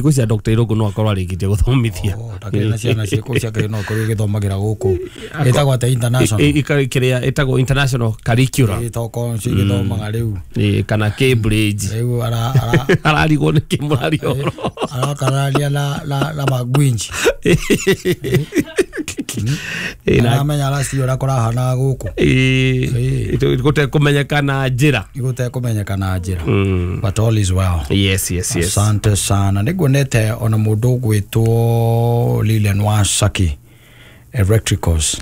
Thikũ cia Dr. Irũngũ no akorwo arĩkĩtie gũthomithia. Takĩrĩ na ciana ciĩkũ ciake no korwo igĩthomagĩra gũkũ ĩtagwo atĩa international Kĩrĩa ĩtagwo international curriculum. Ĩtokorwo nĩcio igĩthomaga rĩu. Kana Cambridge. Rĩu ararigwo nĩ kĩ mũraria ũhoro. Arakararia na magwinji. Aramenya aracio ũrĩa kũrahanaga gũkũ. Gũtekũmenyeka na njĩra. Gũtekũmenyeka na njĩra. But all is well. Yes, yes, yes. Asante sana. Nĩnguonete ona mũndũ ũgwĩtwo Lilian Wasaki Electricals.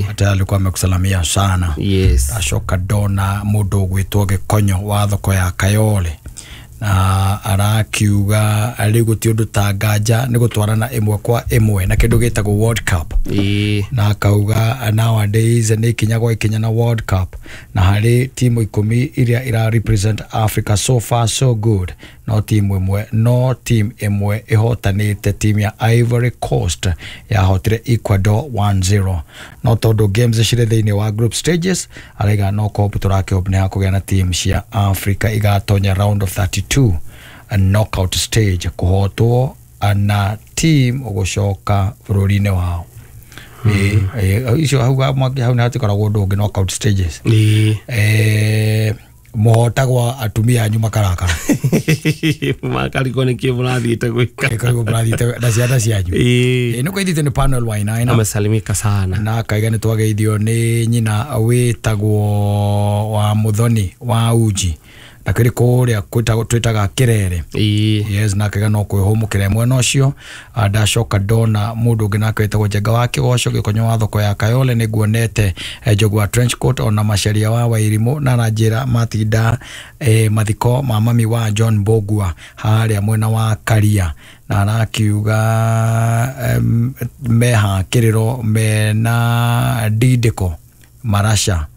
Ata alikuwa amekusalamia sana. Yes. Acoka ndona mũndũ ũgwĩtwo Gĩkonyo wa thoko ya Kayole. Na arakiuga rĩu gũtirĩ ũndũ ta nganja nĩ gũtwarana ĩmwe kwa ĩmwe na kĩndũ gĩtagwo World Cup. Na akauga nowadays nĩ ikinya gwa ikinya na World Cup, na harĩ timu 10 iria ira represent Africa, so far so good. No timu ĩmwe, no team ĩmwe ĩhotanĩte, timu ya Ivory Coast yahotire Ecuador 1-0. No tondũ games cirĩ thĩinĩ wa group stages, araiga no kũhope tũrakĩhope nĩ hakũgĩa na team cia Africa igatonya round of 32 a knockout stage, kũhotwo na team ũgũcoka bũrũri-inĩ wao. Icio hau hau nĩ hatikoragwo ũndũ ũngĩ knockout stages. Mũhotagwo atumia anyu makarakara. Makarigwo nĩ kĩ mũrathiĩte gwĩka. Karigwo mũrathiĩte na ciana cianyu. Nĩ kũgeithĩtio nĩ Panuel Wainaina. Amesalimika sana. Na akaiga nĩ twageithio nĩ nyina wĩtagwo wa Muthoni wa Uji. Na kĩrĩ kũrĩa twĩtaga Kĩrere. Yes, na akaiga no kwĩhũmũkĩra mwena ũcio. Ndacoka ndona mũndũ ũngĩ nake wĩtagwo Njenga wa Kĩgoco Gĩkonyo wa thoko ya Kayole, nĩnguonete Njogu wa trench coat ona Macharia wa Wairimũ, na aranjĩra matinda mathiko ma mami wa John Mbũgua harĩa mwena wa Karia, na arakiuga meha kĩrĩro mena ndindĩko Marasha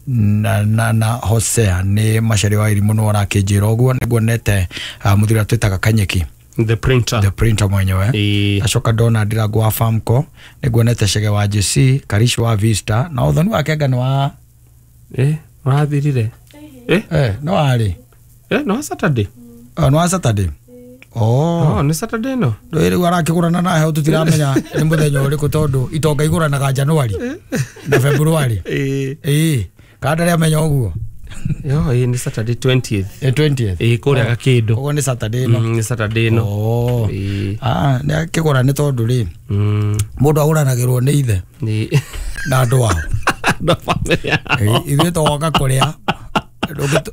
na Hosea nĩ Macharia wa Irimũ no arakĩnjĩra ũguo. Nĩnguonete mũthuri ũrĩa twĩtaga Kanyeki, The printer, the printer mwenyewe. Acoka ndona Ndirango wa Famco, nĩnguonete Chege wa JC, Karish wa Vista, na ũthoni wa Kenga nĩ wa ũrathirire. No arĩ. No Saturday. No wa Saturday. Oh, nĩ Saturday no. Rĩu arakĩgũrana na heo tũtiramenya nĩ mũthenya ũrĩkũ tondũ itonga igũranaga January na February. Kana ndarĩ amenya ũguo. Yo, nĩ Saturday 20th. 20th. Kũrĩa Gakĩndũ. Ũguo nĩ Saturday no. Nĩ Saturday no. Nĩ akĩgũra nĩ tondũ rĩ mũndũ agũranagĩrwo nĩ ithe na andũ ao. Na family yao. Ithuĩ tũgoka kũrĩa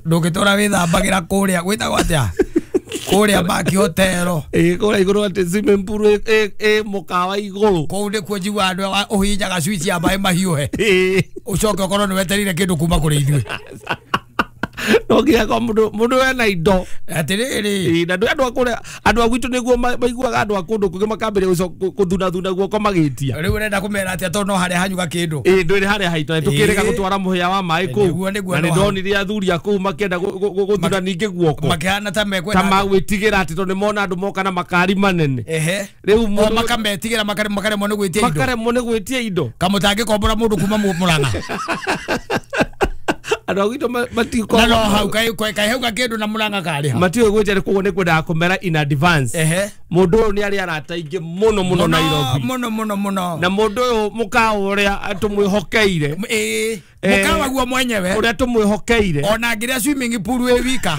ndũngĩtũra wĩthambagĩra kũrĩa gwĩtagwo atĩa kũrĩa Baki Hotel. Kũrĩa igũrũ atĩ swimming pool ĩ mũkawa igũrũ. Kũu nĩkuo njiguaga andũ ũhihinyaga switch ya maĩ mahiũhe. Ũcoke ũkorwo nĩ wetereire kĩndũ kuma kũrĩ ithuĩ. No nginya kwa mũndũ wena indo. Atĩrĩrĩ. Na andũ a kũrĩa andũ a gwitũ nĩguo maiguaga andũ a kũndũ kũngĩ makambĩrĩria gũthunathuna guoko magĩtia. Rĩu ũrenda kũmera atĩa tondũ no harĩa hanyuga kĩndũ. Ndũrĩ harĩa haitũ tũkĩrega gũtwara mũhĩa wa maĩ kũu. Na nĩ ndonire athuri a kũu makĩenda gũthuna ningĩ guoko. Makĩhana ta mekwenda. Ta magwĩtigĩra atĩ tondũ nĩ mona andũ moka na makari manene. Rĩu mũndũ makametigĩra makaremwo nĩ gwĩtia indo. Makaremwo nĩ gwĩtia indo. Kamũtangĩkombora mũndũ kuma Mũrang'a. Andũ a gwitũ matikoragwo no hau kaĩ hau gakĩndũ na Mũrang'a karĩ ha. Matiũĩ gwĩtia koguo nĩ kwendaga kũmera in advance. Mũndũ ũyũ nĩ arĩ arata aingĩ mũno mũno Nairobi. Mũno mũno mũno. Na mũndũ ũyũ mũkawa ũrĩa tũmwĩhokeire. Mũkawa guo mwenyewe. Ũrĩa tũmwĩhokeire. Ona ngĩrĩa swimming pool wĩ wika.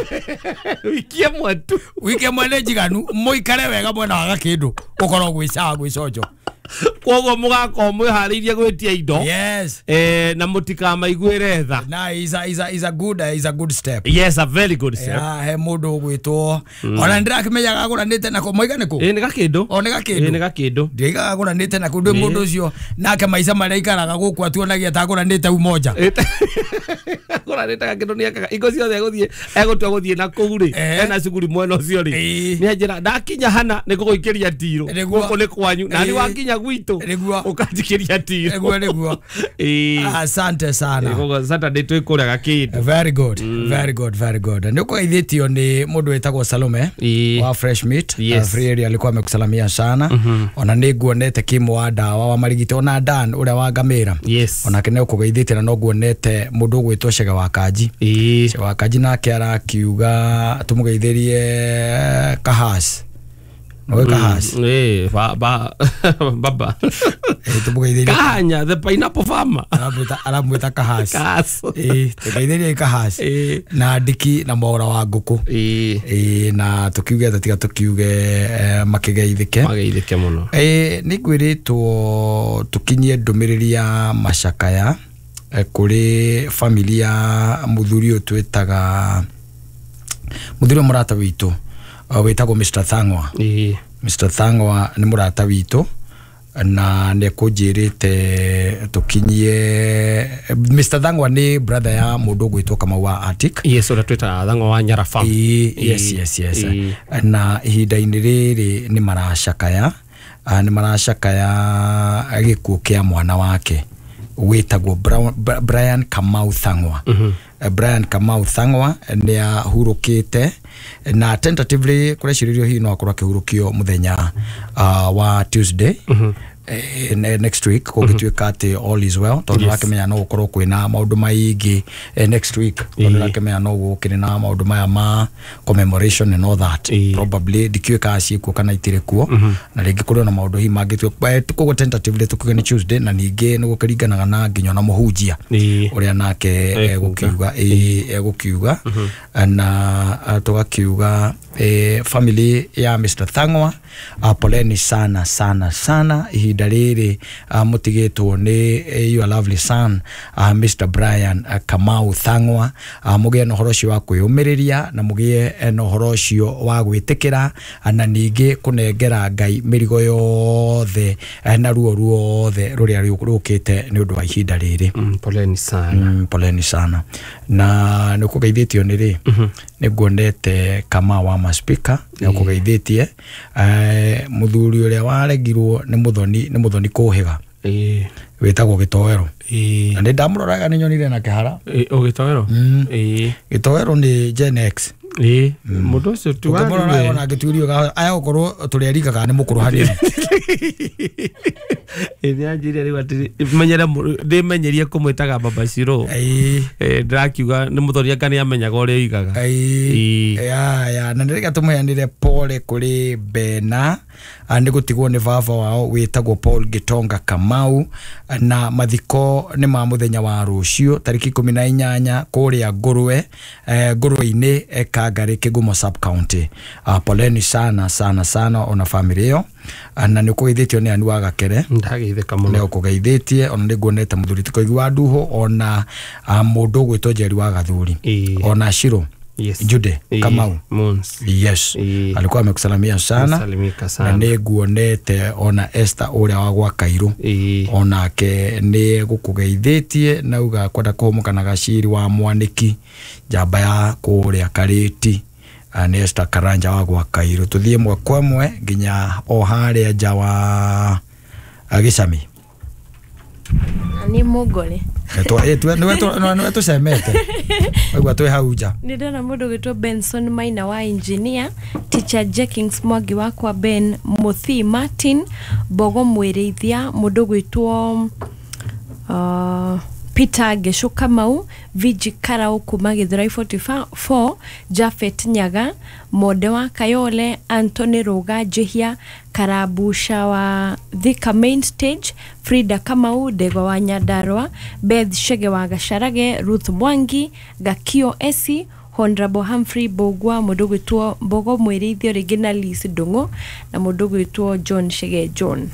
Wiki ĩmwe tu. Wiki ĩmwe nĩ njiganu mũikare wega mwena wa Gakĩndũ ũkorwo gwĩcaga gwĩconjo. Koguo mũgakorwo mwĩharĩirie gwĩtia indo. Yes. Na mũtikamaiguĩre tha. Na is a good is a good step. Yes, a very good step. He mũndũ ũgwĩtwo ona ndĩrakĩmenyaga agũranĩte nako moiga nĩkũ? Nĩ Gakĩndũ. O nĩ Gakĩndũ. Nĩ Gakĩndũ. Ndĩigaga agũranĩte nako ndĩ mũndũ ũcio nake maica marĩa aikaraga gũkũ atuonagia ta agũranĩte Umoja. Agũranĩte Gakĩndũ nĩ ekaga ingo ciothe egũthiĩ egũtua gũthiĩ na kũu rĩ ena cuguri mwena ũcio rĩ nĩ anjĩra ndakinya hana nĩ ngũgũikĩria ndirũ gũkũ nĩ kwanyu na nĩ wakinya gwitũ ũkanjikĩria ndirũ. Nĩguo nĩguo. Asante sana. Koguo Saturday twĩ kũrĩa Gakĩndũ. Very good. Very good, very good. Nĩ ũkũgeithĩtio nĩ mũndũ wĩtagwo Salome wa Fresh Meat. Free area alikuwa amekusalamia sana. Ona nĩ nguonete Kim wa ndawa wa marigiti ona Dan ũrĩa wa ngamĩra. Onake nĩ ũkũgeithĩtie na no nguonete mũndũ ũgwĩtwo Chege wa Kanji. Chege wa Kanji nake arakiuga tũmũgeithĩrie Kahas. Nowe Kahas. Ba baba. Tumugeithĩrie. Kahanya the pineapple farmer. Aramwĩta Kahas. Kahas. Tũgeithĩrie Kahas. Na Ndiki na Mwaura wa ngũkũ. Na tukiuge tiga tukiuge makigeithĩke. Mageithĩke mũno. Nĩ ngwĩrĩtwo tukinyie ndũmĩrĩri ya macakaya kũrĩ familia mũthuri ũyũ twĩtaga mũthuri mũrata witũ wĩtagwo Mr. Thang'wa. Mr. Thang'wa nĩ mũrata witũ na nĩ kũnjĩrĩte tũkinyie. Mr. Thang'wa nĩ brother ya mũndũ ũgwĩtwo Kamau wa Arctic. Yes, ũrĩa twĩtaga Thang'wa wa Nyara Farm. Yes, yes, yes. Na ihinda-inĩ rĩrĩ nĩ maracakaya, nĩ maracakaya gĩkuũ kĩa mwana wake wĩtagwo Brian Kamau Thang'wa. Brian Kamau Thang'wa nĩ ahurũkĩte na tentatively kũrecirĩrio hihi no akorwo akĩhurũkio mũthenya wa Tuesday next week kũngĩtuĩka atĩ all is well, tondũ nĩũrakĩmenya no gũkorwo kwĩna maũndũ maingĩ next week, tondũ nĩũrakĩmenya no gũkĩrĩ na maũndũ maya ma commemoration and all that. Probably ndikĩũĩ kana ciĩkuo kana itirĩ kuo, na rĩngĩ kũrĩ ona maũndũ hihi mangĩtuĩka. Koguo tentatively tũkiuge nĩ Tuesday, na ningĩ nĩ gũkĩringanaga na nginya ona mũhunjia ũrĩa nake egũkiuga, egũkiuga. Na tũgakiuga family ya Mr. Thang'wa, poleni sana sana sana ihinda rĩrĩ mũtigĩtwo nĩ your lovely son Mr. Brian Kamau Thang'wa. Mũgĩe na ũhoro ũcio wa kwĩyũmĩrĩria na mũgĩe na ũhoro ũcio wa gwĩtĩkĩra, na ningĩ kũnengera Ngai mĩrigo yothe na ruo ruothe rũrĩa rũkĩte nĩ ũndũ wa ihinda rĩrĩ. Poleni sana. Poleni sana. Na nĩ ũkũgeithĩtio nĩ rĩ, nĩ nguonete Kamau wa maspika nĩ ũkũgeithĩtie. Mũthuri ũrĩa waregirwo nĩ mũthoni, nĩ mũthoni kũhĩga wĩtagwo Gĩtoero. Na nĩ ndamũroraga nĩ nyonire na kĩhara. Gĩtoero? Gĩtoero nĩ Gen X. Mũndũ ũcio tu ũkĩmũrora ona angĩtuĩrio aya gũkorwo tũrĩa rika kana nĩ mũkũrũ hanini. Nĩ anjĩrire rĩu atĩ menyere ndĩmenyerie kũmwĩtaga Baba Shiro. Ndĩrakiuga nĩ mũthoni anga nĩ amenyaga ũrĩa oigaga. Ya na nĩrĩga tũmũheanĩre pole kũrĩ Bena nĩ gũtigwo nĩ baba wao wĩtagwo Paul Gitonga Kamau, na mathiko nĩ ma mũthenya wa rũciũ tarĩki 18 kũrĩa Ngũrwe, Ngũrwe-inĩ Kangari Kĩgumo sub county. Poleni sana sana sana ona family ĩyo. Na nĩ ũkũgeithĩtio nĩ Anu wa Gakere. Ndageithĩka mũno. Nĩ ũkũgeithĩtie ona nĩ nguonete mũthuri ti Koigi wa Nduho, ona mũndũ ũgwĩtwo Njeri wa Gathuri, ona Shiro. Yes. Jude Kamau. Mons. Yes. Alikuwa amekusalamia sana. Salimika sana. Na nĩ nguonete ona Esther ũrĩa wa gwa Kairũ. Onake nĩ gũkũgeithĩtie na uga kwenda kũhũmũka na Gaciri wa Mwanĩki njamba ya kũrĩa Karĩti. Nĩ Esther Karanja wa gwa Kairũ. Tũthiĩ ĩmwe kwa ĩmwe nginya o harĩa nja wa Gĩcami. Nĩ mũngore. Nĩwe tũcemete. Waigua twĩ hau nja. Nĩ ndona mũndũ ũgwĩtwo Benson Maina wa engineer, teacher Jenkins Mwangi wakwa, Ben Muthi Martin Mbogo Mwĩrĩithia, mũndũ ũgwĩtwo Peter Gesho Kamau, Viji Karau kuma Githurai 44, Jafet Nyaga, Monde wa Kayole, Anthony Ruga Njihia, Karabusha wa Thika Main Stage, Frida Kamau, Ndegwa wa Nyandarua, Beth Shege wa Gacarage, Ruth Mwangi, Gakio Esi, Honorable Humphrey Bogwa, mũndũ ũgwĩtwo Mbogo Mwĩrĩithio rĩngĩ na Liz Ndung'u, na mũndũ ũgwĩtwo John Shege John.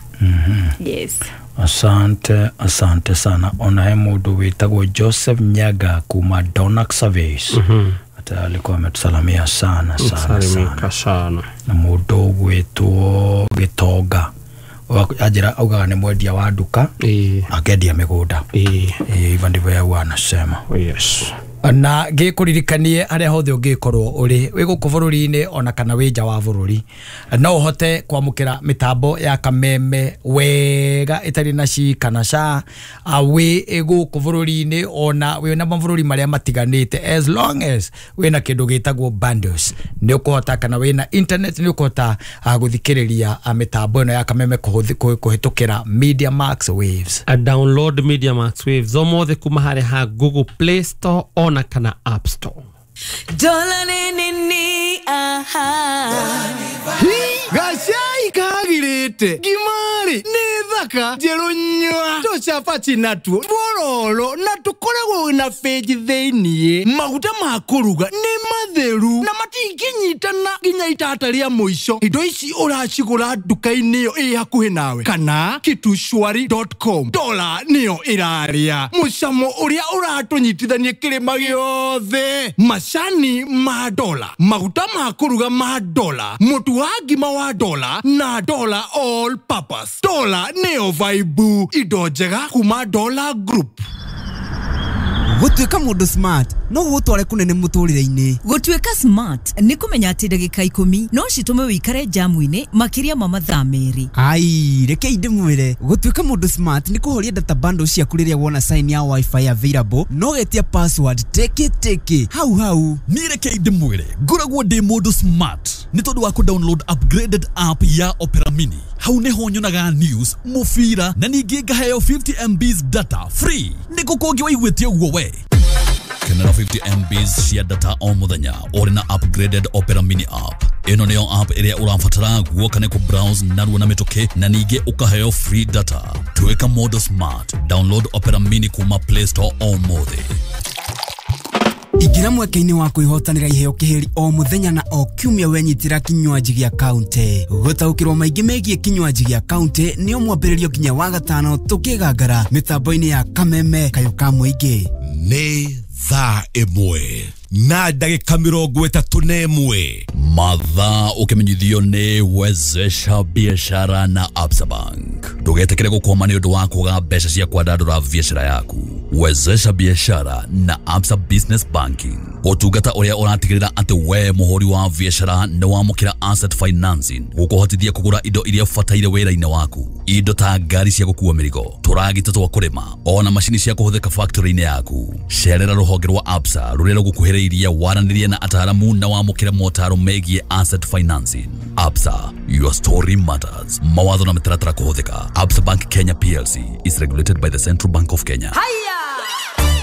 Yes. Asante, asante sana. Ona he mũndũ wĩtagwo Joseph Nyaga kuma Donak Service. Ata alikuwa ametusalamia sana sana sana. Sana. Na mũndũ ũgwĩtwo Gĩtonga. Ajira augaga nĩ mwendia wa nduka. Akendia mĩgũnda. Hivyo ndivyo yeye anasema. Yes. Na ngĩkũririkanie harĩa hothe ũngĩkorwo ũrĩ wĩ gũkũ bũrũri-inĩ ona kana wĩ nja wa bũrũri, no ũhote kwamũkĩra mĩtambo ya Kameme wega ĩtarĩ na ci kana ca, wĩ gũkũ bũrũri-inĩ ona wĩ na mabũrũri marĩa matiganĩte, as long as wĩna kĩndũ gĩtagwo bundles nĩ ũkũhota, kana wĩna internet nĩ ũkũhota gũthikĩrĩria mĩtambo ĩno ya Kameme kũhĩtũkĩra Media Max Waves. A download Media Max Waves omothe kuma harĩa ha Google Play Store ona kana App Store. Dola ni ni aha. Hii Gacai kagirĩte ngimari nĩ thaka njerũ nyua tũcabaci natuo twororo na tũkoragwo na bĩnji thĩiniĩ. Maguta ma kũruga nĩ matheru na matingĩnyitana nginya itata rĩa mũico. Indo ici ũracigũra nduka-inĩ ĩyo ĩ hakuhĩ nawe kana kitushwari.com. Dola nĩyo ĩrarĩa mũcamo ũrĩa ũratũnyitithania kĩrĩma gĩothe. Macani ma dola, maguta ma kũruga ma dola, mũtu wa ngima wa dola na dola all purpose. Dola nĩyo vibe, indo njega kuma Dola Group. Gũtuĩka mũndũ smart no gũgũtware kũnene mũtũrĩre-inĩ. Gũtuĩka smart nĩ kũmenya atĩ ndagĩka 10 no citũme wĩikare jamu-inĩ makĩria ma mathaa 2. Ai, rekei ndĩmwĩre, gũtuĩka mũndũ smart nĩ kũhoria data bundle ciaku rĩrĩa wona sign ya wifi available no getia password teke teke hau hau. Niĩ rekei ndĩmwĩre, ngoragwo ndĩ mũndũ smart nĩ tondũ wa kũ-download upgraded app ya Opera Mini. Hau nĩho nyonaga news, mũbira na ningĩ ngaheo 50 MBs data free. Nĩkũ kũngĩ waiguĩte ũguo we? Kenera 50 MBs cia data o mũthenya ũrĩ na upgraded Opera Mini app. Ĩno nĩyo app ĩrĩa ũrabatara guoka nĩ kũ-browse narua na mĩtũkĩ na ningĩ ũkaheo free data. Tuĩka mũndũ smart. Download Opera Mini kuma Play Store ũmũthĩ. Ingĩra mweke-inĩ wa kwĩhotanĩra iheo kĩhĩri o mũthenya na o kiumia wenyitĩra kinywaji gĩa kaunti. Gũtaũkĩrwo maingĩ megiĩ kinywaji gĩa kaunti nĩo mwambĩrĩrio nginya wa gatano tũkĩgangara mĩtambo-inĩ ya Kameme kayũ ka mũingĩ. Nĩ thaa 1 na ndagĩka 31. Mathaa ũkĩmenyithio nĩ Wezesha Biashara na Absa Bank. Ndũgetĩkĩre gũkwama nĩ ũndũ wa kwaga mbeca cia kwandandũra biashara yaku. Wezesha Biashara na Absa Business Banking, ũtungata ũrĩa ũratigĩrĩra atĩ we mũhũri wa biashara nĩ wamũkĩra asset financing gũkũhotithia kũgũra indo iria ũbataire wĩra-inĩ waku, indo ta ngari cia gũkua mĩrigo, tũragita twa kũrĩma, ona macini cia kũhũthĩka factory-inĩ yaku. Cerera rũhonge rwa Absa rũrĩa rũgũkuhĩrĩirie, waranĩrie na ataaramu na wamũkĩre motaro megiĩ asset financing. Absa, your story matters. Mawatho na mĩtaratara kũhũthĩka. Absa Bank Kenya PLC is regulated by the Central Bank of Kenya.